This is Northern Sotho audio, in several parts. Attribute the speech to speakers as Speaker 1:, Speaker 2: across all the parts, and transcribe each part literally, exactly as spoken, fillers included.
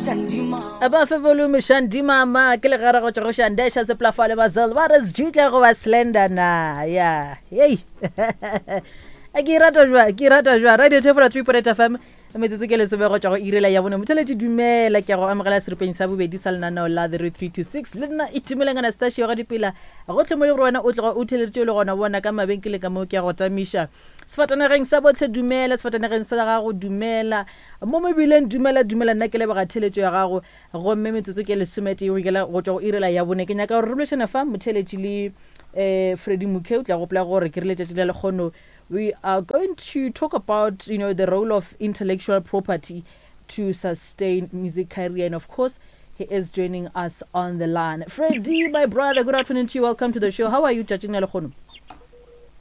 Speaker 1: Ba fe volume Shandy Mama ke legare go tšwa go Shandesha Seplafale Bazel ba re Sjutle goba Slender na ya hei ke e rata jwa ke e rata jwa Radio Thefolo three point eight F M. Metsotso ke lesome go tšwa go irela ya bone. Motheletši, dumela, ke a go amogela seripeng sa bobedi sa lenaneo la The Road three two six. Le nna Itumeleng Anastasia ga dipela gotlhe mo le gore wena o tloga o theleditše o le gona bona ka mabenkeleng ka moo. Ke a go tamiša sefatanageng sa botlhe, dumela, sefatanageng sa gago, dumela, mo mebileng, dumela, dumela. Nna ke leboga theletšo ya gago. Gomme metsotso ke lesometee go ikela go tšwa go irela ya bone. Ke nyaka gore re bolešane fa, motheletši, le um Freddy Mokhe. O tla gopola gore ke re letšatši la lekgono we are going to talk about you know the role of intellectual property to sustain music career, and of course he is joining us on the line. Freddy, my brother, good afternoon to you. Welcome to the show. How are you tšatšing la lekgono?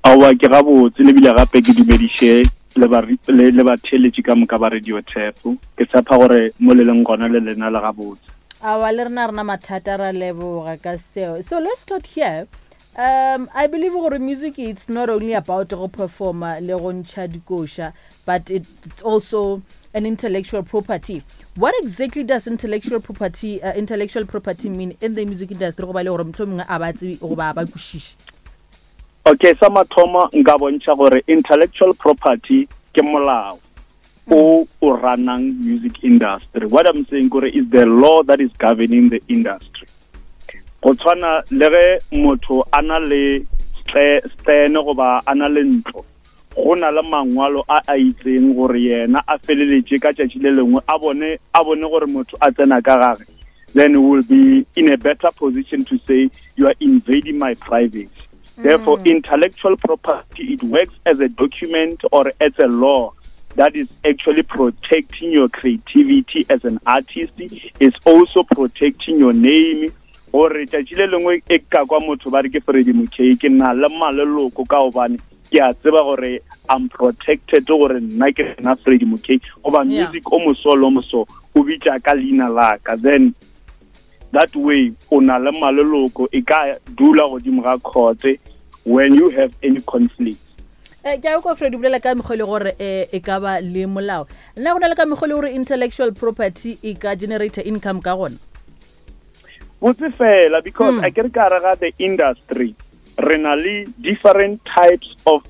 Speaker 2: Aowa, ke gabotse. Lebile gape ke dumediše le ba- le le batheeletši ka moka ba Radio Tap. Ke tshepa gore mo le leng gona le lena le gabotse.
Speaker 1: Awa, le rena rena mathata, ra leboga ka seo. So let's start here. um I believe gore music, it's not only about go performa le go ntšha dikoša, but it's also an intellectual property. What exactly does intellectual property uh, intellectual property mean in the music industry, go ba le gore motlho mongwe a ba tsebe goba a ba kwešiše?
Speaker 2: Okay, sa mathomo nka bontšha gore intellectual property ke molao o o runang music industry. What I'm saying kore is the law that is governing the industry. Go tshwana le ge motho a na le stene goba a na le ntlo, go na le mangwalo a a itseng gore yena a feleletše ka tšatši le lengwe a bone a bone gore motho a tsena ka gage, then we will be in a better position to say, "You are invading my privacy." Therefore, mm. intellectual property, it works as a document or as a law that is actually protecting your creativity as an artist. It's also protecting your name, gore tšatši le lengwe e ka kwa motho ba re ke Freddy Mokay, ke na le maleloko ka gobane ke a tseba gore I'm protected, gore nna ke nna Freddy Mokay, goba music o moso le o moso o bitša ka leina la ka. Then that way o na le maleloko e ka dula godimo ga court when you have any conflict.
Speaker 1: Eh, ke a kwa, Fred, bolela ka mekgwa e le gore um e ka ba le molao. Nna go na le ka mekgwa e le gore intellectual property e ka generate income ka gona?
Speaker 2: Botse fela, because mm. a ke re ka ga the industry re na le different types of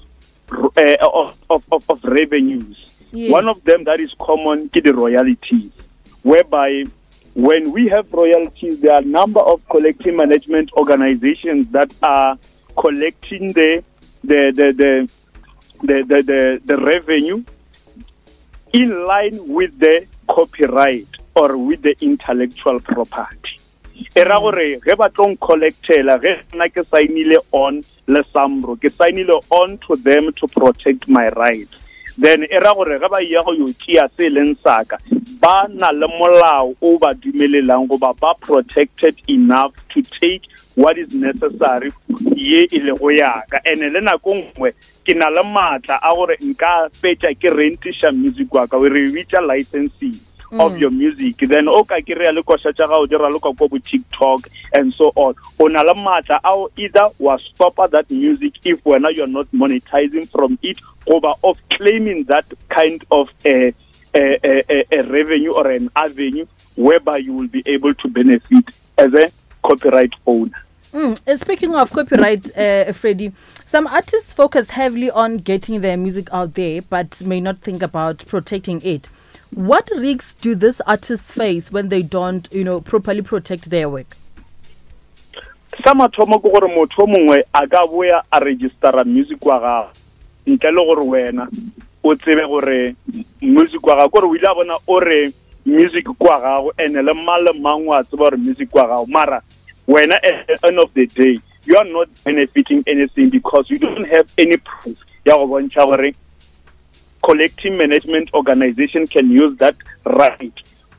Speaker 2: uh, of, of, of, of revenues. yes. One of them that is common ke the royalties, whereby when we have royalties, there are a number of collecting management organizations that are collecting the the the the the, the, the, the revenue in line with the copyright or with the intellectual property. E ra gore ge ba tlo collectela, ge nna ke signile on le SAMRO, ke signile on to them to protect my rights, then e ra gore ge ba ya go yo tšea se e leng saka, ba na le molao o ba dumelelang goba ba protected enough to take what is necessary ye e lego yaka. And le nako nngwe ke na le maatla a gore nka fetša ke rentiša music wa ka, re bitša licensing mm. of your music. Then o ka kry-a le koša tša gago di raloka ko bo TikTok and so on, o na le maatla ao either wa stopa that music if wena you're not monetizing from it, goba of claiming that kind of a, a, a, a revenue or an avenue whereby you will be able to benefit as a copyright owner.
Speaker 1: Mm. Speaking of copyright, uh, Freddie, some artists focus heavily on getting their music out there, but may not think about protecting it. What risks do these artists face when they don't, you know, properly protect their work?
Speaker 2: Sa mathomo ke gore motho o mongwe a ka boya a registera music wa gago ntle le gore wena o tsebe gore music wa gago, kore o ile a bona o re music kwa gago, and le mang le mang wa tseba gore music wa gago, mara wena at the end of the day you are not benefiting anything because you don't have any proof ya go bontšha gore collecting management organization can use that right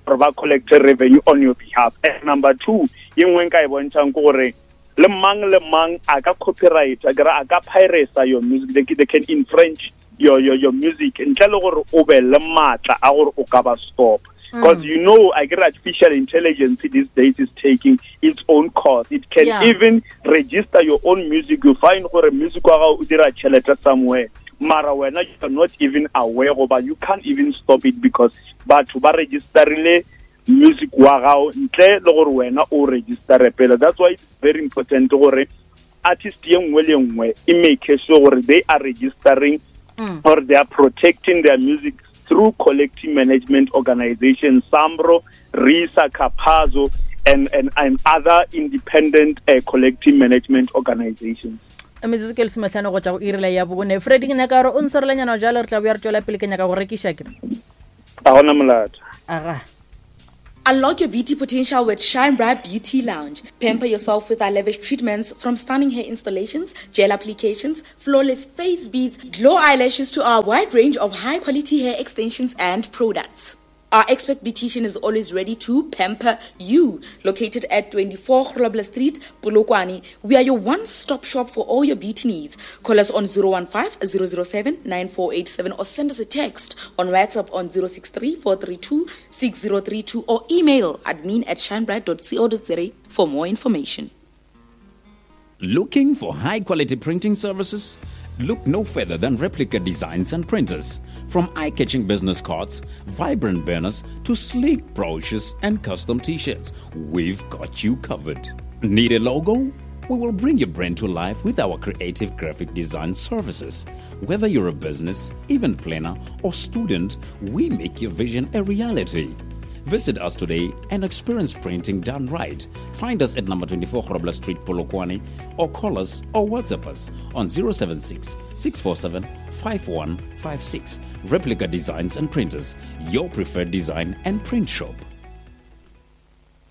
Speaker 2: gore ba collect revenue on your behalf. And number two ye nngwe nka e bontšhang ke gore le mang le mang a ka copyright, a kere a ka pirate your music. they, they can infringe your, your, your music ntle le gore o be le maatla a gore o ka ba stop, because mm. you know I get artificial intelligence these days is taking its own course. It can yeah. even register your own music. You find gore music wa gago o dira tšhelete somewhere, mara wena you are not even aware goba you can't even stop it because batho ba registerile. music wa gago ntle le gore wena o registere pele. That's why it's very important gore artist ye nngwe le nngwe e make sure gore they are registering mm. or they are protecting their music through collective management organizations, SAMRO, RISA, CAPASSO, and, and, and other independent uh, collective management organizations.
Speaker 1: Metsotso ke lesomehlano go tšwa go iri ya bone. Freddy, ke nyaka gore o ntshwarelenyana jalo, re tla boya re tšwela pele, ke nyaka go rekiša ke.
Speaker 2: A gona molato.
Speaker 1: Aga.
Speaker 3: Unlock your beauty potential with Shine Bright Beauty Lounge. Pamper yourself with our lavish treatments, from stunning hair installations, gel applications, flawless face beads, glow eyelashes to our wide range of high-quality hair extensions and products. Our expert beautician is always ready to pamper you. Located at twenty-four Grobler Street, Polokwane, we are your one-stop shop for all your beauty needs. Call us on zero one five, zero zero seven, nine four eight seven or send us a text on WhatsApp on zero six three, four three two, six zero three two or email admin at shinebright dot co dot za for more information.
Speaker 4: Looking for high-quality printing services? Look no further than Replica Designs and Printers. From eye-catching business cards, vibrant banners, to sleek brochures and custom t-shirts, we've got you covered. Need a logo? We will bring your brand to life with our creative graphic design services. Whether you're a business, event planner, or student, we make your vision a reality. Visit us today and experience printing done right. Find us at number twenty-four Grobler Street, Polokwane, or call us or WhatsApp us on zero seven six, six four seven, five one five six. Replica Designs and Printers, your preferred design and print shop.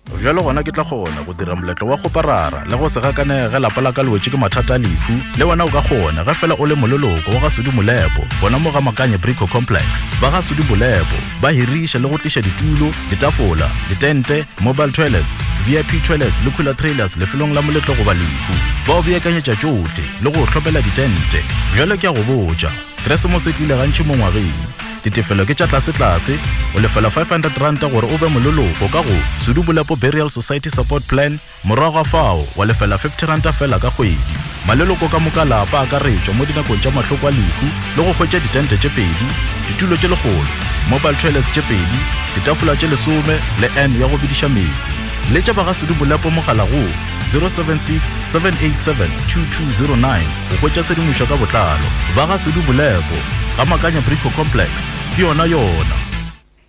Speaker 5: Bjalo gona ke tla kgona go dira moletlo wa go parara le go se gakane ge lapa la ka le wetše ke mathata a lehu. Le wena o ka kgona ge fela o le moleloko wa ga Sudi Molepo, bona mo ga Makanye Brico Complex. Ba ga Sudi Molepo ba hiriša le go tliša ditulo, ditafola, ditente, mobile toilets, V I P toilets le cooler trailers lefelong la moletlo goba lehu. Ba o beakanyetša tšohle le go hlopela ditente. Bjalo ke a go botša, Keresemose e tlile gantši mo ngwageng. Ditefelo ke tša tlase-tlase, o lefela five hundred rand gore o be moleloko ka go Sudi Molepo Burial Society Support Plan, morago ga fao wa lefela fifty rand fela ka kgwedi. Maleloko ka moka lapa a akaretšwa mo dinakong tša mahloko a lehu le go hwetša ditente tše pedi, ditulo tše lekgolo, mobile toilets tše pedi, ditafola tše lesome le N ya go bediša meetse. Letša ba ga Sudi Molepo mogala go zero seven six, seven eight seven, two two zero nine go hwetša tshedimošo ka botlalo. Ba ga Sudi Molepo ga Makanya Brico Complex, ke yona yona.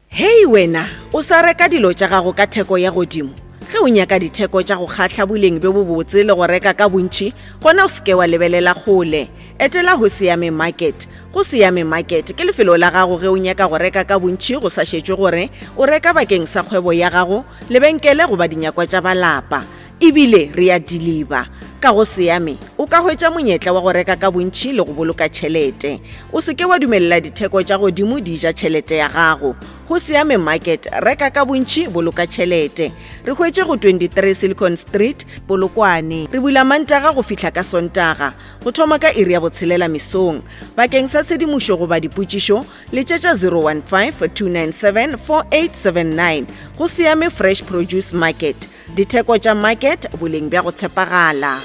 Speaker 6: Hei wena, o sa reka dilo tša gago ka theko ya godimo. Ge o nyaka ditheko tša go kgahla boleng bjo bobotse le go reka ka bontši, gona o seke wa lebelela kgole. Etela go Siame Market. Go Siame Market ke lefelo la gago ge o nyaka go reka ka bontši go sa šetšwe gore o reka bakeng sa kgwebo ya gago, lebenkele goba dinyakwa tša balapa. Ebile re a deliver. Ka go Siame o ka hwetša monyetla wa go reka ka bontši le go boloka tšhelete. O seke wa dumelela ditheko tša godimo di ja tšhelete ya gago. Go Siame Market, reka ka bontši, boloka tšhelete. Re hwetše go twenty-three Silicon Street, Polokwane. Re bula Mantaga go fihla ka Sontaga, go thoma ka iri ya botshelela mesong. Bakeng sa tshedimošo goba dipotšišo, letšetša zero one five, two nine seven, four eight seven nine. Go Siame Fresh Produce Market. Ditheko tša market, boleng bja go tshepagala.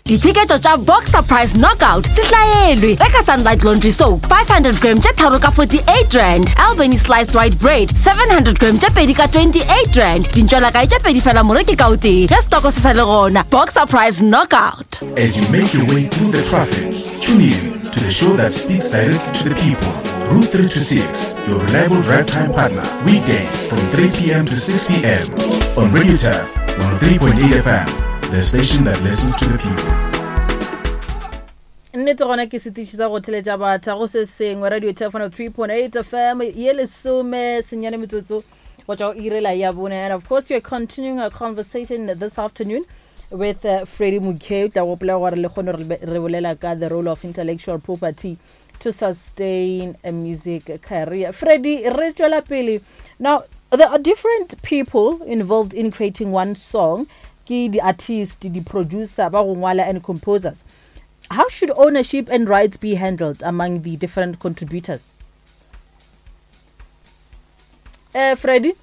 Speaker 7: Ditsheketšo tša Boxer Price Knockout se hlaelwe. Reka Sunlight Laundry Soap five hundred gram tše tharo ka forty-eight rand, Albany Sliced White Bread seven hundred gram tše pedi ka twenty-eight rand, dintšwelakae tše pedi fela moreki ka o tee ge stoko se sa le gona. Boxer Price Knockout.
Speaker 8: As you make your way through the traffic, tune in to the show that speaks directly to the people. Route three to six, your reliable drive time partner, weekdays from three p.m. to six p.m. on Radio Turf one oh three point eight F M, the station that listens to the people.
Speaker 1: Nnete gona ke setiši sa go theletša batho go se sengwe. Radio Turf one oh three point eight F M ye lesome senyane metsotso go tšwa go iri ya bone. And of course we are continuing our conversation this afternoon with uh, Freddy Mokhei. Tla gopola gore le kgone re bolela ka the role of intellectual property to sustain a music career. Freddy, re tšwela pele. Now, there are different people involved in creating one song. Ke di artist, di producer, ba go ngwala and composers. How should ownership and rights be handled among the different contributors? Eh, uh, Freddy?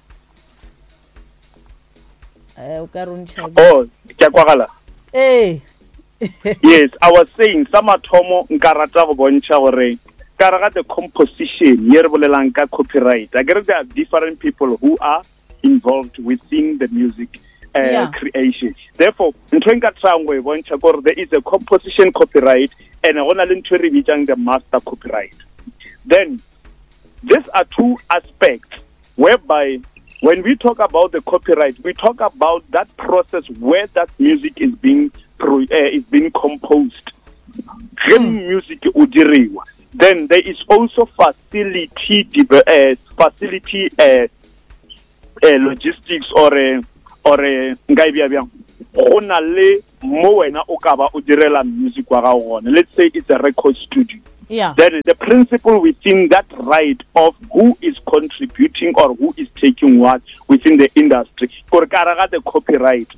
Speaker 1: Eh, o ka rontšha.
Speaker 2: Oh, ke a kwagala.
Speaker 1: Eh.
Speaker 2: Yes, I was saying sa mathomo nka rata go bontšha gore Ka re ga the composition ye re bolelang ka copyright, akere there are different people who are involved within the music uh,
Speaker 1: Yeah.
Speaker 2: creation. Therefore, ntho e nka tryang go e bontšha gore there is a composition copyright and go na le ntho e re bitsang the master copyright. Then these are two aspects whereby when we talk about the copyright, we talk about that process where that music is being pro, uh, is being composed. Ge music o diriwa, then there is also facility deve- uh, facility uh, uh, logistics or uh, or uh, nka e bea bjang go na le mo wena o ka ba o direla music wa gago gone let's say it's a record studio
Speaker 1: yeah
Speaker 2: then the principle within that right of who is contributing or who is taking what within the industry gore ka re ga the copyright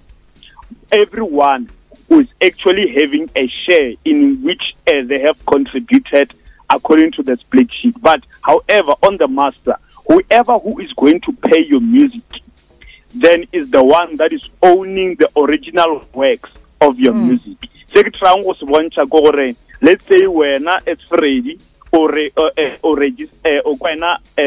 Speaker 2: everyone who is actually having a share in which uh, they have contributed according to the split sheet but however on the master whoever who is going to pay your music then is the one that is owning the original works of your mm. music se ke tryang go se bontšha ke gore let's say wena as Freddy o re o eh, o regis- eh, o kwena eh,